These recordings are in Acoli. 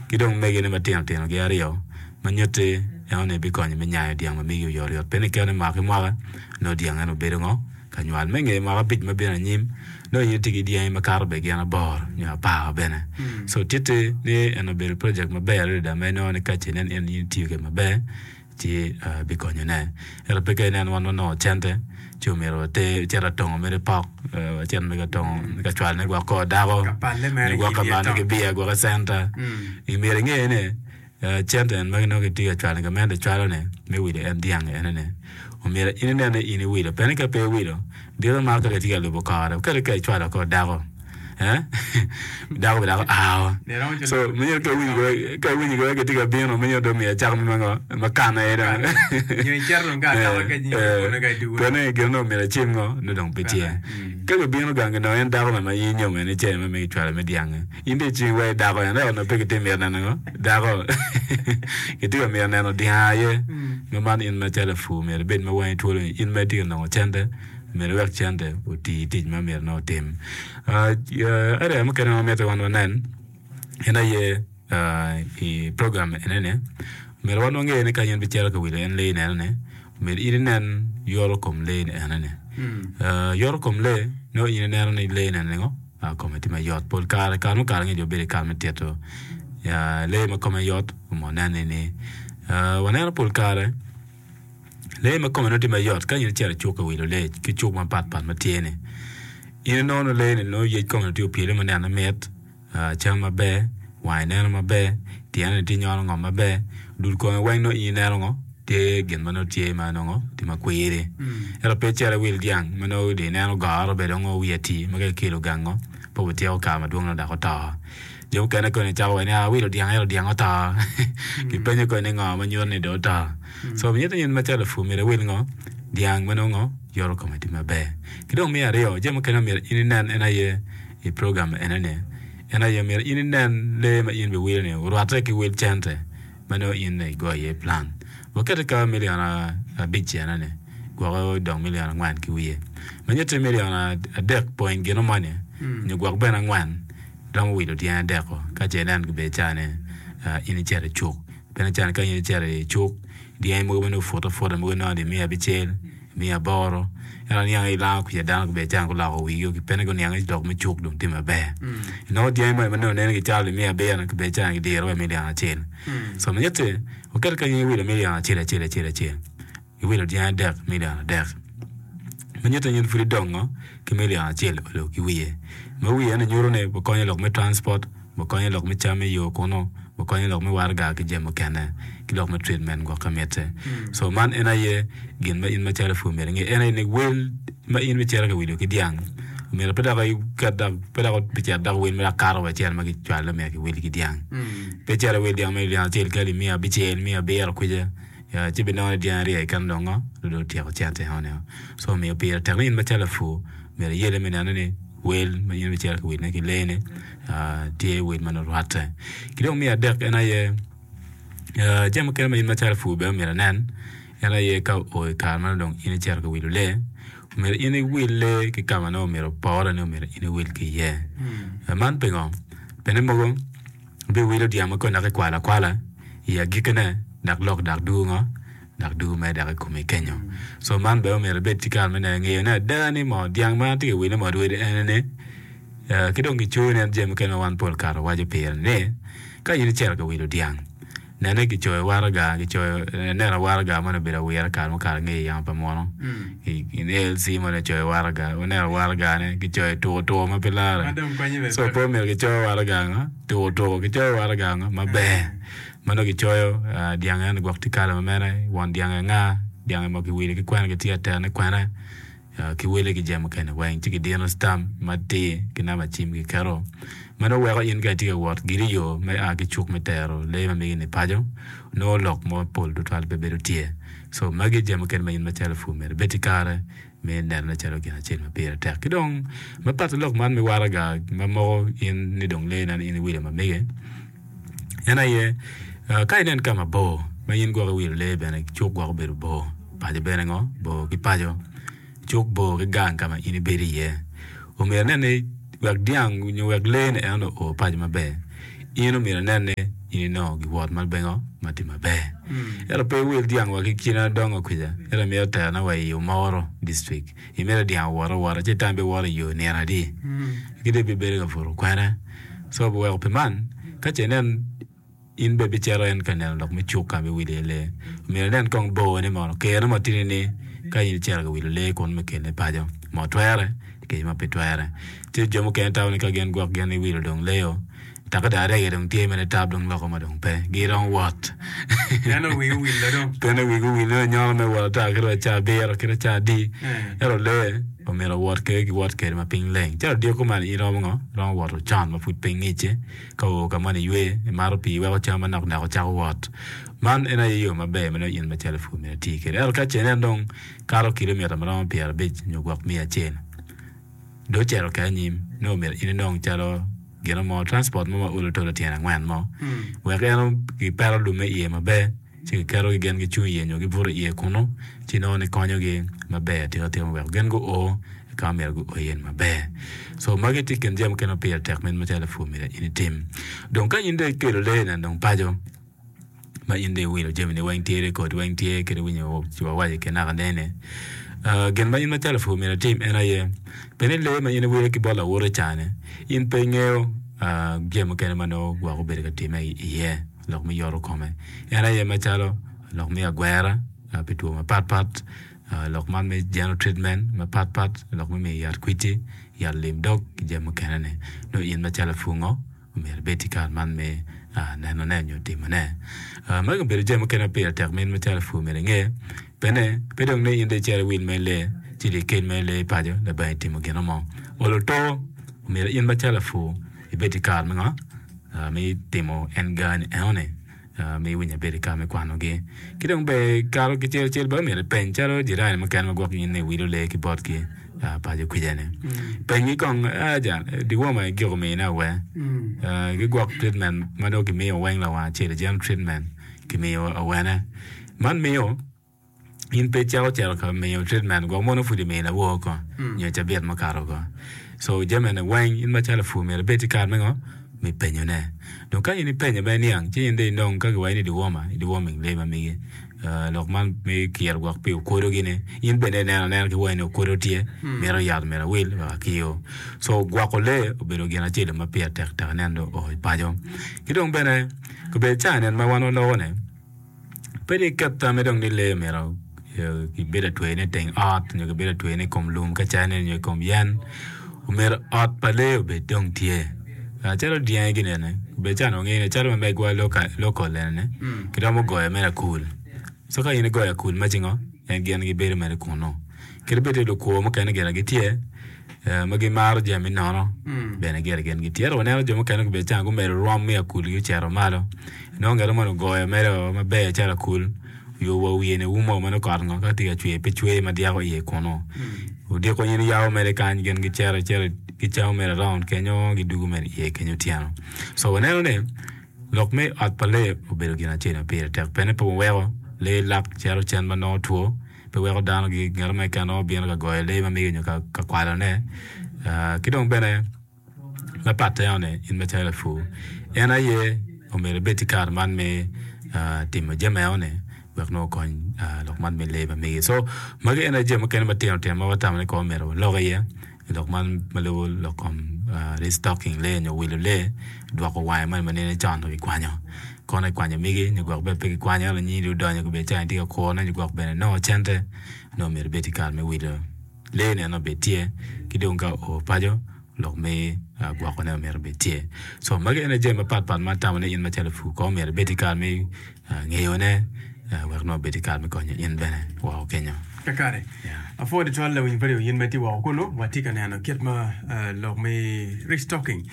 ki dong megine matino tino gi aryo ma nyutti enoni bikonyo me nyayo dyang ma megi oyotoyot pien ikene mwaka ki mwaka nongo dyang eno bedo ngo ka nywal. Me nge mwaka abic ma bino anyim nongo in itye ki dyangi makato bene gin aboro nyo apar bene. So titti ni en obedo project maber adada ma inongo ni kace inen in itiyo kwede maber ci bikonyone. Ento pe ka inen wan wanongo cente ci omyero water cit atongo mere pok wacit mere ka tongo ka cwalone gwok kor dako nyo gwok ka mane ki biya gwok i centa. Myero inge ni Cente en ma nongo kitye ka cwalo gamente cwalo ni me wilo en dyang ene ni omyero in inen ni in iwilo pien ni ka pe iwilo diro mako ka kitye ka lubo kore kadi ka icwalo kor dako dako bene dok ao so myero ka iwinyo ka iwinyo ka kitye ka bino myero dong omiyo acaka me ngo me kano aye dong pien ni gin onongo myero acim ngo nongo dong pe tye ka gibino gang ginongo en dako ma in inyomo en cene ma megi icwalo me dyangi. In dong icwiny wa i dako en ento onongo pe kitye mito neno ngo? Dako. Kitye ka mito neno dyang aye. Ma man in macalo lapur myero ibed ma wangi twolo ni in ma itye ka nongo cente myero iwek cente oti tic ma myero nongo otim. Area mukene ma mitte wan wanen en aye i program enini myero wan wange ni ka in ibicito ka wilo en lee ni enoni myero in inen yoto kom lee ni enoni. Yoto kom lee nongo in ineno ni lee ni enoni ngo? Kome tye mayot. Pol kare, kare mukato angec wabedo i kare me tito lee ma kome yot onongo wanene ni waneno pol kare lee ma kome nongo tye mayot ka in icito i cuk ka wilo lee ki cuk mapat pat ma tye-ni in inongo ni lee-ni nongo yec kome tye opyelo ma nene mit cam maber wange neno maber tyene tye nyono ngom maber dul kome weng nongo in ineno ngo tye gin ma nongo tye ma nongo tye ma kwiri. Ento pe icito iwil dyang ma nongo dong ineno goro bene dong wiye ati ma ka ikelo gango pe obityeko kare madwong nongo dok oto. Jo mukene koni cako waco ni awilo dyang ento dyang oto. Kipenyo koni ni ngo ma nyuto ni dong oto. So miti in macalo lapur myero iwil ngo dyang ma nongo yoto kome tye maber. Ki dong me aryo jami mukene ma myero in inen en aye i program enoni en aye myero in inen lee ma in ibiwilo ni orwatte ki wel cente ma nongo in igoyo iye plan. Wakete ka milion abic ene-ni, gwoke odong milion angwen ki wiye. Ma nyutti milion adek point gino moni, nyo gwok bene angwen, romo wilo tyen adek-ko ka ce inen gibedo ca ni in icito i cuk. Pien ca ni ka in icito i cuk, dyangi mogo ma nongo oputo aputa mogo inongo miya abicel, miya aboro, ento aniang ni ilango kwica dano gubedo calo guloko wigi pe ni guniang ni lok me cuk dong tye maber. Inongo dyangi moni ma nongo nene gicalo miya abiro gibedo calo gidiro wa i milion acel. So mitte waket ka in iwilo milion acel acel acel acel iwilo dyangi adek milion adek ma nyuto ni in pud idongo ki milion acel olo ki wiye ma wiye eni nyuto ni wakonyo lok me transport Wakonyo lok me cam i yo kunu, wakonyo lok me waraga ki jami mukene, ki lok me treatment gwok ka mitte. So man en aye gin ma in macalo pur myero inge, en aye ni wel ma in bicito ka wilo ki dyang myero pe dok iket dok pe dok bicito dok wel ma dok kato wa cel ma kicwalo myero kiwil ki dyang. Pe icito iwil dyang me dyang acel kali miya abicel, miya abiro kwica ci binongo ni dyang aryo keken dong ngo dong otyeko cente enoni. So omiyo pire tek ni in macalo lapur myero iyelle me neno ni wel ma in ibicito ka wilone ki lee-ni tye wel ma nongo rwatte. Ki dong me adek en aye jami mukene ma in macalo lapur bene myero inen en aye ka oo i kare ma dong in icito ka wilo lee myero in iwil lee ki ka ma nongo myero opore ni myero in iwil ki iye. Man pingo? Pien ni mogo ibiwilo dyang ma koni dok ikwalo akwala i agikkine dok lok dok dwogo ngo? Dok dwogo mere dok i komi kenyo. So man bene omyero ibed ki kare me neno ngeyo ni ada ni moo dyang ma atye ka wilo moo rwedi ene ni ki dong gicoyo nen jami mukene ma wan pol kare wawaco pire ni ka in icito ka wilo dyang nene kicoyo waraga kicoyo ineno waraga moni obedo awira kare mukato ange i yamo pa munu i ALC moni ocoyo waraga ineno waragane kicoyo tuko tuko ma pe lare so pe omyero kicoyo waraga ngo tuko tuko kicoyo waraga ngo maber ma nongo kicoyo dyang eno gwok tye kala ma mere won dyang anga dyang mo kiwilo ki kwene kitye ka terone kwene ki wele ki jami mukene weng ci kidino stamp matir ki namba cim kiketo ma nongo weko in ka itye ka wot giri yo me a ki cuk me tero lee ma megi ni paco nongo lok mapol tutwal pe bedo tye so magi jami mukene ma in macalo pur myero ibed ki kare me nenone calo gin acel ma pire tek ki dong ma pat ki lok man me waraga ma moko in ni dong lee ni in iwilo ma mege en aye ka inen ka mabor ma in gwok iwilo lee bene cuk gwok obedo bor paco bene ngo bor ki paco cuk bor ki gang ka ma in ibedo iye omyero inen ni wek dyang nyo wek lee ni en oo paco maber in omyero inen ni. in inongo giwot ma bengo ma tye maber. Ento pe iwil dyang wa ki kine adongo kwica ento imito terone wa i Omoro district imito dyang owot awota ci itam biwoto i yo nino adi ki dong ibibedo ka buto kwene so weko pi man ka ce inen In bene ibicito en ka neno lok me cuk ka ma iwilo iye lee. Omyero inen kong borne mono, kerone mo tye ni ka in icito ka wilo lee kunu me kelone paco, mo twere kec ma pe twere. Tye jo mukene tamo ni ka gin gwok gin iwilo dong lee-o, take dong arege dong tye mere tap dong loko ma dong pe, giromo wot. Pien wigi owilo dong. Pien wigi owil ni nyono me wot ata kadi wa caa abiro kadi wa caa adi. Ento lee omyero owot kwede giwot kwede ma piny leng. Calo odiko kuman in iromo ngo? Iromo woto con ma pud piny ngic-ci. Ka oo ka moni iywe, imato pii iweko cam manok nok ocako wot. Man en aye yo maber ma nongo in macalo lapur myero iti kwede. Ento ka ce inen dong kato kilomita ma romo pyerabic nyo gwok miya acel, dong ocito ki anyim, nongo myero in inong calo gino mo, transport mo ma olo tolo tyene angwen mo, wek en kipeto lumme iye maber. ci giketogi gin gicung iye nyo gibuto iye kunnu, ci nongo ni konyogi maber atika tika me weko gin guo i ka ma myero guo iye-ni maber. So magi tye i kin jami mukene ma pire tek ma in macalo lapur myero in itim. Dong ka in dong ikelo lee-ni dong paco ma in dong iwilo jamini weng tye, rekod weng tye kadi winyo wawaco ki naka nene, gin ma in macalo lapur myero itim en aye bed ni lee ma in iwilo ki bot lawote ca-ni in pe ingeyo jami mukene ma nongo gwok obedo ka timme iye. Lok me yoto kome en aye macalo lok me agwera pi two mapat pat, lok man me general treatment mapat pat, lok me miyo yat kwiti, yat lim dog ki jami mukene ni. Nongo in macalo lapwongo omyero ibed ki kare man me nenone nyo timone. Magi obedo jami mukene ma pire tek ma in macalo lapur myero inge. Bene pe dong ni in dong icito iwil mere lee ci dong ikel mere lee paco labongo itimo gin mo. Olo to omyero in macalo lapur ibed ki kare me ngo? me timo en gani enoni me iwinyo abedo i kare me kwanogi. Ki dong bene kato ki cel cel bene myero ipeny calo jirani mukene ma gwok in iwilo lee ki botgi paco kwija-ni. Penygi kong jal dewormer igiko miyone awe? Gigwok treatment ma nongo kimiyo weng lawang acel general treatment kimiyo awene. Man miyo In pe icako cito ka miyo treatment gwok mono pud imiyo lawor ko nyo cabit mukato ko. So jami eni weng in macalo lapur myero ibed ki kare me ngo? Me penyo ne. Dong ka in ipenyo ma iniang ci in dong inong ka kiwaci ni dewormer, i deworming lee ma megi. Lok man me kiro gwok pi okwodo gini in bene ineno anena ki wangi ni okwodo tye mito yat myero awil wek akir. So gwoko lee obedo gin acel ma pire tek tek inen dong oo i paco. Ki dong bene obedo ca nen ma wan waloko ni Pe dong iket tammi dong ni lee myero kibed atweyone i teng ot nyo kibed atweyone i kom lum ka cene nyo i kom yen. Omyero ot pa lee obed dong tye. Calo dyangi gini eni obedo calo onongo wangeyo ni calo ma megwa lokol eni kiromo goyo mere akul. Co ka in igoyo akul ma ci ngo en gin gibedo mere kunu. Kadi bed ni lukwor mukene gire gitye. ma gimaro jami nono bene gire gin gitye. Ento waneno jo mukene gubedo calo gumedo rwom me akulgi ocito malo. Inongo ngat moni ogoyo mere maber calo akul oyo wa wiye ni umo ma nongo kot ngo ka tye ka cwer pe cwer ma dyako iye kunu. Odiko in iyabo mere kany gin gicito icito gicamo mere around kenyo gidugo mere iye kenyo otyeno. So waneno ni lok me ot pa lee obedo gin acel ma pire tek pien ni pe wuweko lee lak cito cen ma nongo two. pe weko dano ngat mo keken romo bino ka goyo lee ma mege nyo ka kwalone. Ki dong bene me pat eno-ni in macalo lapur en aye omyero ibed ki kare man me timo jami eno-ni wek nongo okony lok man me lee ma megi. Co magi en aye jami mukene matino tino ma watamo ni kong omyero walok iye. I lok man ma lubo lok kom restocking lee nyo wilo lee, dwoko wange moni ma nene con dong kikwanyo. Kono kikwanyo migi nyo gwok bene pe kikwanyo ento nyingi dong odonyo gubedo calo itye ka kurone nyo gwok bene inongo cente nongo myero ibed ki kare me wilo lee ni eno obed tye ki dong ka oo paco lok me gwokone myero obed tye. Co magi ene jami mapat pat ma atamo ni in macalo lapur kong myero ibed ki kare me ngeyone wek nongo obed ki kare me konyo in bene woko kenyo. Kakare, apwoyo tutwal lawiny pa in ma itye woko kunu. Watye ka neno kit ma lok me restocking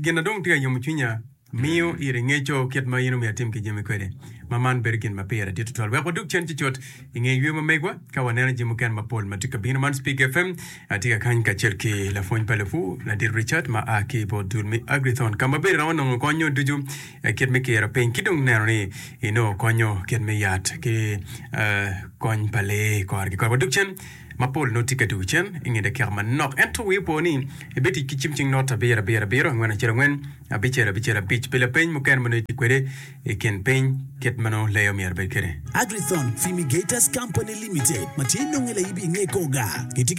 gin na dong tye ka yomo cwinya miyo iri ngeco kit ma in omyero itim ki jami kwede ma man bedo gin ma pire dit tutwal. Wek wadug cen cucut i nge yweyo ma megwa ka waneno jami mukene mapol ma tye ka bino. Man Spik FM atye ka kany kacel ki lapwony pa lupur Ladit Richard ma a ki bot dul me Agrithon ka ma bene iromo nongo konyo ducu kit me kiro piny ki dong neno ni inongo konyo kit me yat ki kony pa lee kore ki kore. Wadug cen. Mapol nongo tye ka dwogo cen i nge dakika manok. Ento wii opo ni ibitic ki cim cing not abiro abiro abiro angwen acel angwen abicel abicel abic pi lapeny mukene ma nongo itye kwede i kin piny kit ma nongo lee omyero obed kwede. Agrithon Fumigators Company Limited ma tye nonge laibi inge Koga gitye ki.